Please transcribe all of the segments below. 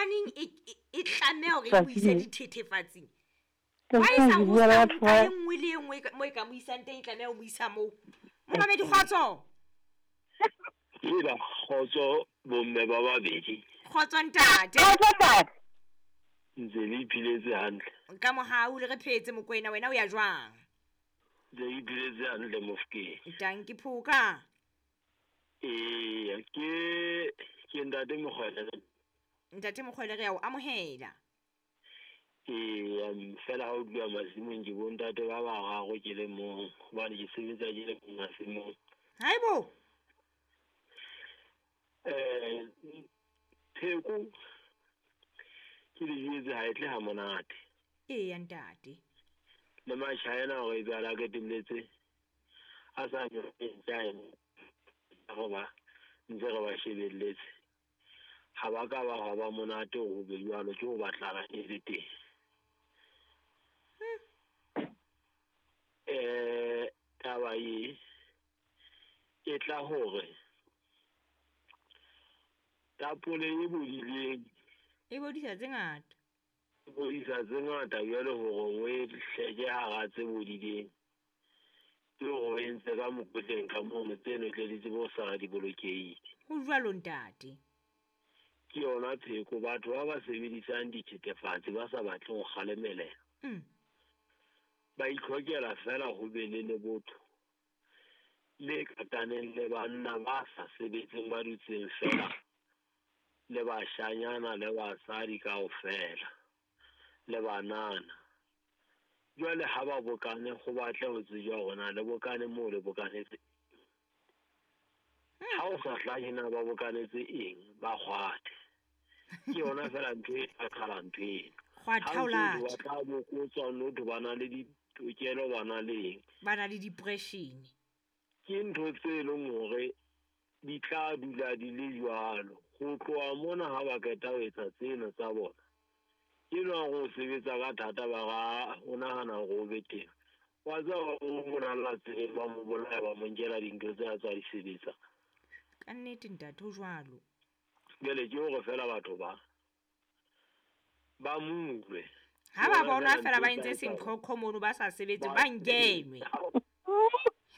Hobaneng e tlameha hore e mo ise dithethefatsing? Tsatsi Wa e lena sa ke ho bua le sa batho nka ba e nngwe le e nngwe mo e ka mo isang teng, e tlameha ho mo isa moo. Momamedi, kgotso. Hela kgotso bomme ba babedi. Kgotso ntate. Kgotso ntate. Ntse le iphiletse hantle. Ka mohau le re phetse Mokoena, wena o ya jwang? Ntse ke iphiletse hantle Mofokeng. Tanki Phoka. Eya, ke ntate Mokgwele. Ntate Mokgwele, re ya o amohela. Eya, fela ha o tluwa masimong ke bo ntate ba bararo ke le mong, hobane ke sebetsa ke le mong masimong. Haibo. Pheko ke le jwetse ha e tle ha monate. Eya ntate. Le Machina hore ebe a la qetelletse a sa nyone ba ntse re ba shebelletse. Ha ba ka ba hwa ba monate ho be jwalo, ke ho batlana e le teng. Taba e e tla hore tapole e bodileng e bodisa tse ngata. E bodisa tse ngata jwale hore o e hleke hara tse bodileng. Ke hore o entse ka mokotleng ka mono tseno tle di tsebe ho sala di bolokehile. Ho jwalo ntate. Ke yona pheko, batho ba ba sebedisang dithethefatsi ba sa batle ho kgalemelela. Ba itlhokela fela ho be le lebotho le kataneng le banna ba sa sebetseng ba dutseng fela le bashanyana le basadi kaofela le banana. Jwale ha ba bokane ho batle ho tsejwa hore na le bokane moo le bokanetse. Ha o sa hlahe na ba bokanetse eng, ba kgwathe. Ke yona fela ntho e tla qala ntho eno. Kgwatha Ha o ntso late. ba tla bokotswa, no ba na le ditokelo, ba na le eng. Ba na le depression. Ke ntho tse leng hore di tla dula di le jwalo. Ho tloha mona ha ba qeta ho etsa tsena tsa bona, ke nwa ho sebetsa ka thata ba ra o nahana hore o be teng. Wa tseba hore o bonahalla tseleng ba mo bolaya, ba mo nkela dintho tse a tswa di sebetsa. Ka nnete ntate, ho jwalo. Jwale ke hore fela batho ba mo utlwe. Ha ba Ke bona yona fela ba ntho e entse tla etsa senqhoqho mono ba sa sebetse, Ba ba nkenwe.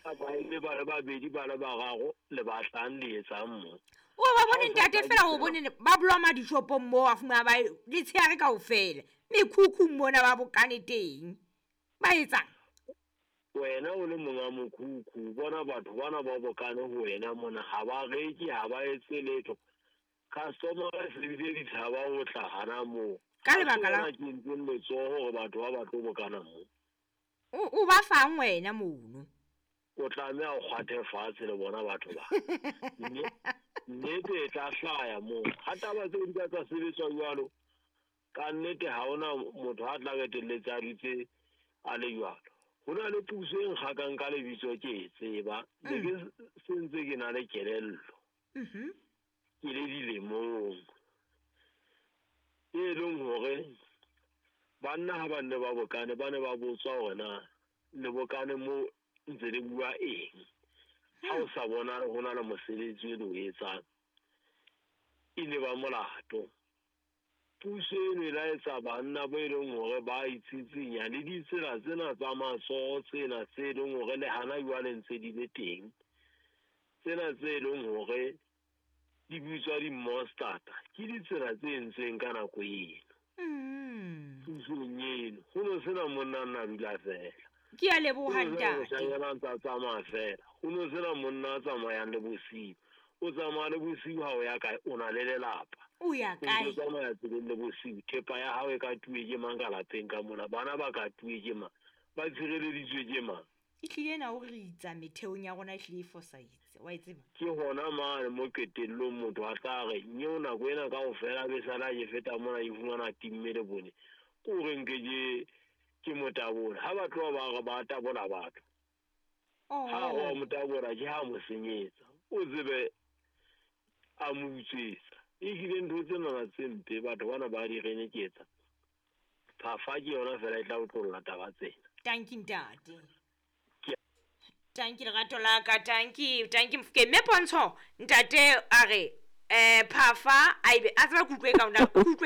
Ba eme ba le babedi, ba le bararo, le batlang le etsang mo. O ba bone Ha o sa ntate tla fela o ditsela. bone ba bloma dishopong moo, a fumana ba letsheare kaofela. Mekhukhung mona ba bokane teng. Ba etsang? Wena o le monga mokhukhu, bona batho bana ba bokane ho wena mona, ha ba reke, ha ba etse letho. Customer e se bile di tshaba ho tla hana moo. Ka lebaka la Ha ke entseng letsoho hore batho ba ba tlo bokana moo. O ba fang wena mono? O tlameha o kgwathe fatshe le bona batho ba. Nnete e tla hlaya moo. Ha taba tseo di ka tsa sebetswa jwalo, ka nnete ha hona motho a tla qetelletse a dutse a le jwalo. Ho na le puso e nkgakang ka lebitso ke e tseba. Ne ke se ntse ke na le kelello. Ke le dilemong. E leng hore banna ha ba nne ba bokane, ba ne ba botswa hore na le bokane moo ntse le bua eng. Ha o sa bona ho na le mosebetsi o le o etsang, e ne ba molato. Puso eno e la etsa banna bo e leng hore ba itsitsinya le ditsela tsena tsa matsoho tsena tse leng hore le hana jwale ntse di le teng. Tsena tse leng hore di bitswa di-mustard, ke ditsela tse entsweng ka nako eno. Pusong eno ho no sena monna a nna dula fela. Ke a leboha Ho no sena ntate. moshanyana a ntsa tsamaya fela. Ho no sena monna a tsamayang le bosiu. O tsamaya le bosiu ha o ya kae, o na le lelapa. O ya O ntso kae? tsamaya tseleng le bosiu, thepa ya hao e ka tuwe ke mang ka lapeng ka mona, bana ba ka tuwe ke mang, ba tshireleditswe ke mang. E hlile ena o re itsa metheong ya rona e hlile e fosahetse, wa e tseba? Ke hona mane mo qetellong motho a tla re, nyeo nako ena kaofela be sala ke feta mona ke fumana timme le bone. Ke hore nke ke motabole. Ha ba tloha ba re ba tabola batho. Ha re wa motabola ke ha mo senyetsa. O tsebe a mo utswetsa. Ehlile ntho tsena tse mpe batho bana ba di reneketsa. Phafa ke yona fela e tla otlolla taba tsena. Tanki ntate. Tanki lerato la ka, tanki, tanki Mofokeng. Mme Pontsho, ntate a re, phafa a ebe a tseba ke utlwe ka ona, ke utlwe